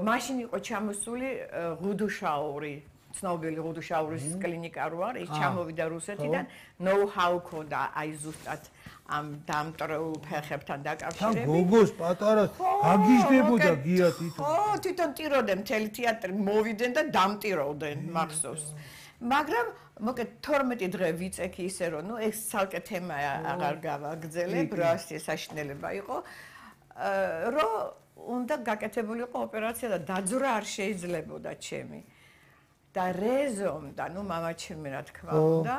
მაშინ იყო ჩამოსული ღუდუშაური ცნობილი ღუდუშაურის კლინიკა რო არის, ის ჩამოვიდა რუსეთიდან, know-how ქონდა აი ზუსტად ამ დამტრეულ ფეხებთან დაკავშირებით. გოგოს პატარა გაგიჟდებოდა გია თვითონ. ხო, თვითონ ტიროდნენ მთელი თეატრი, მოვიდნენ და დამტიროდნენ მახსოვს. მაგრამ მოკეთ 12 დღე ვიწექი ისე რომ ნუ ეს ცალკე თემა აღარ გავაგრძელებ, რა საშინელება იყო, რომ უნდა გაკეთებულიყო ოპერაცია და დაძვრა არ შეიძლებოდა ჩემი. და რეზომ და ნუ მამაჩემი რა თქმა უნდა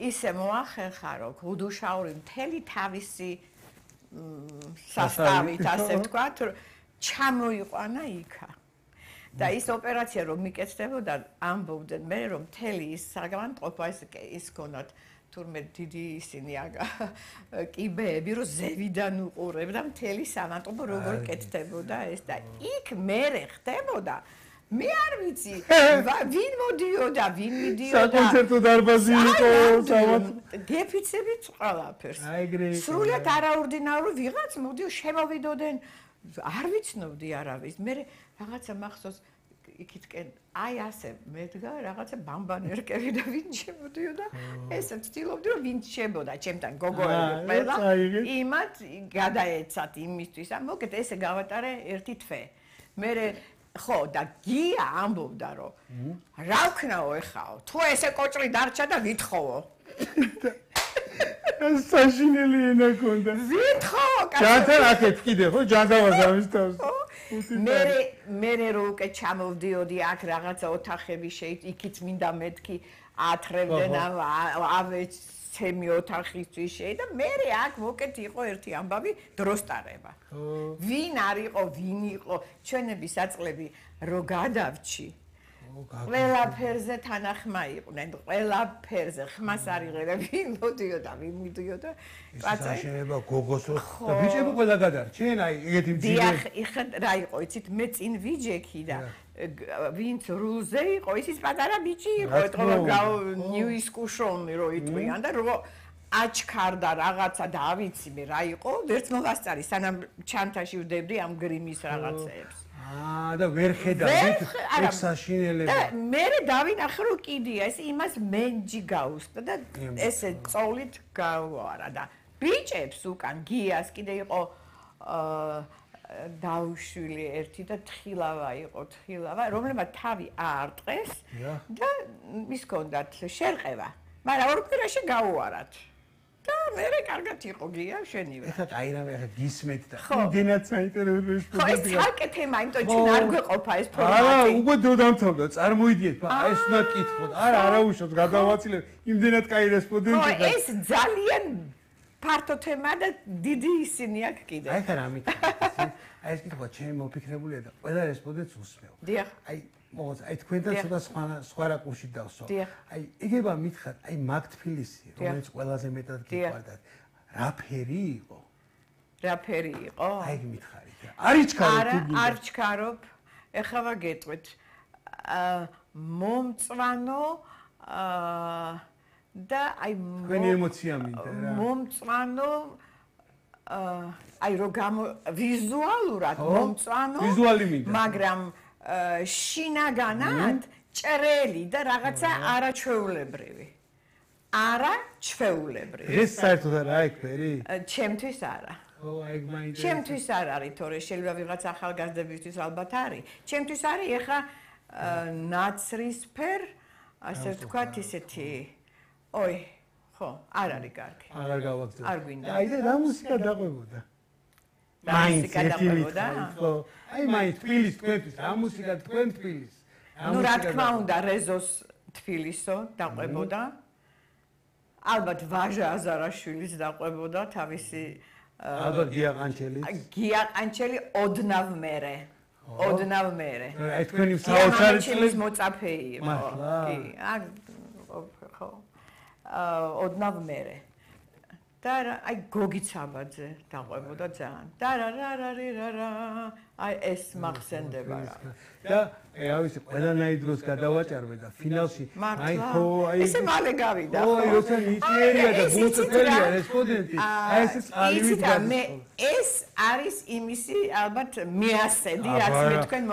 ისე მოახერხა რომ ღუდუშაური მთელი თავისი სასტავით ასე ვთქვათ ჩამოიყვანა იქა და ის ოპერაცია რომ მიკეთდებოდა ამბობდნენ მე რომ მთელი ის საგანტყოფა ის ქონათ თურმე დიდი ისინი კიბეები რომ ზევიდან უყურებდა მთელი სამანტყოფო როგორ კეთდებოდა ეს და იქ მერე ხდებოდა მე არ ვიცი ვინ მოდიოდა ვინ მიდიოდა საკონცერტო დარბაზი იყო გეფიცებით ყველაფერს სრულად არაორდინარული ვიღაც მოდიო შემოვიდოდნენ არ ვიცნობდი არავის მე რაღაცა მახსოვს იქითკენ აი ასე მედგა რაღაცა ბამბანერკები და ვინ შემოდიოდა ესე ვცდილობდი რომ ვინ შემოდა ჩემთან გოგოები ყველა იმათ გადაეცათ იმისთვის ამ მოკეთ ესე გავატარე ერთი თვე მე ხო და გია ამბობდა რომ რა ვქნაო ეხაო თუ ესე კოჭრი დარჩა და ვითხოვო ეს საშინელი ენა ქონდა ვითხოვო ჯანთან აქეთ კიდე ხო ჯანდავას ამის თავს მე რო უკვე ჩამოვდიოდი აქ რაღაცა ოთახები იქით მინდა მეთქი ათრევდნენ ავეც ჩემი ოთახისთვის და მე აქ მოკეთ იყო ერთი ამბავი დროსტარება ვინ არისო ვინ იყო ჩვენები საწყლები რო გადავჩი ყველაფერზე თანახმა იყვნენ ყველაფერზე ხმას არ იღებდა ვინ მოდიოდა ვინ მიდიოდა კაცი შეიძლება გოგოს და ბიჭები ყველა გადარჩენ აი ეგეთი მძიმე დიახ რა იყო იცით მე წინ ვიჯექი და ვინც რულზე იყო ის პატარა ბიჭი იყო ეთქო ნიუისკუშონი რო იტყვიან და რო აჩქარდა რაღაცა და ავიცი მე რა იყო ვერც მოვასწარი სანამ ჩანთაში ვდებდი ამ გრიმის რაღაცეებს და ვერ ხედავით ეს საშინელება და მე დავინახე რომ კიდია ეს იმას მენჯი გაუსწდა და ესე წოლით გავარა და ბიჭებს უკან გიას კიდე იყო დაუშვილი ერთი და თხილავა იყო თხილავა რომლებმაც თავი აარტყეს და ის ჰქონდათ შერყევა მაგრამ ორ კვირაში გაუარათ და მე კარგად იყო გია შენივე ეხლა აი რა მე გისმეთ და იმდენად საინტერესო ხო ეს ცალკე თემა იმიტომ ჩვენ არ გვეყოფა ეს ფორმატი არა უკვე დრო დამთავრდა წარმოიდგეთ ეს უნდა კითხოთ არა უშოთ გადავაცილებ იმდენად კაი რესპონდენტი ხო ეს ძალიან ფართო თემა და დიდი ისინი აქვს კიდე აი ხა რა მითხრა აი ეს კითხვა ჩემი მოფიქრებულია და ყველა რესპონდენტს უსმევ დიახ აი მოგოც აი თქვენთან ცოტა სხვა რაკურსში დავსვავ აი იგება მითხრათ აი მაგ თბილისი რომელიც ყველაზე მეტად გიყვარდათ რა ფერი იყო რა ფერი იყო აი მითხარით არის ჩქარობ არ ჩქარობ ეხლა ვაგეტყვით მომწვანო და აი თქვენი ემოცია მინდა რა მომწვანო აი რო ვიზუალურად მომწვანო ვიზუალი მინდა მაგრამ შინაგანად ჭრელი და რაღაცა არაჩვეულებრივი ეს საერთოდ არა ეგ ფერი ჩემთვის არა ო ეგ მაინტერესებს ჩემთვის არ არის თორე შეიძლება ვიღაც ახალგაზრდებისთვის ალბათ არის ჩემთვის არის ეხა ნაცრისფერ ასე ვთქვათ ისეთი ой ხო არ არის კარგი აღარ გავაგზავნე არ გვინდა აი და რა მუსიკა დაყვებოდა მუსიკა დაყვებოდა ხო აი მაინც თბილის თქვენთვის რა მუსიკა თქვენ თბილის ნუ რა თქმა უნდა რეზოს თბილისო დაყვებოდა ალბათ ვაჟა აზარაშვილიც დაყვებოდა თავისი ალბათ გია ყანჩელი ოდნავ მერე აი თქვენი საოცარი წლის მოწაფე იყო კი ხო ოდნავ მერე და აი გოგიც აბაძე დაყვებოდა ძალიან და რა აი ეს მახსენდება რა და ავისი ყველანაირ დროს გადავაჭარბე და ფინალში აი ხო აი ესე მალე გავიდა ხო აი როცა ნიჭიერია და გულწრფელია რესპონდენტი აი ეს წალივით ეს არის იმისი ალბათ მეასედი რაც მე თქვენ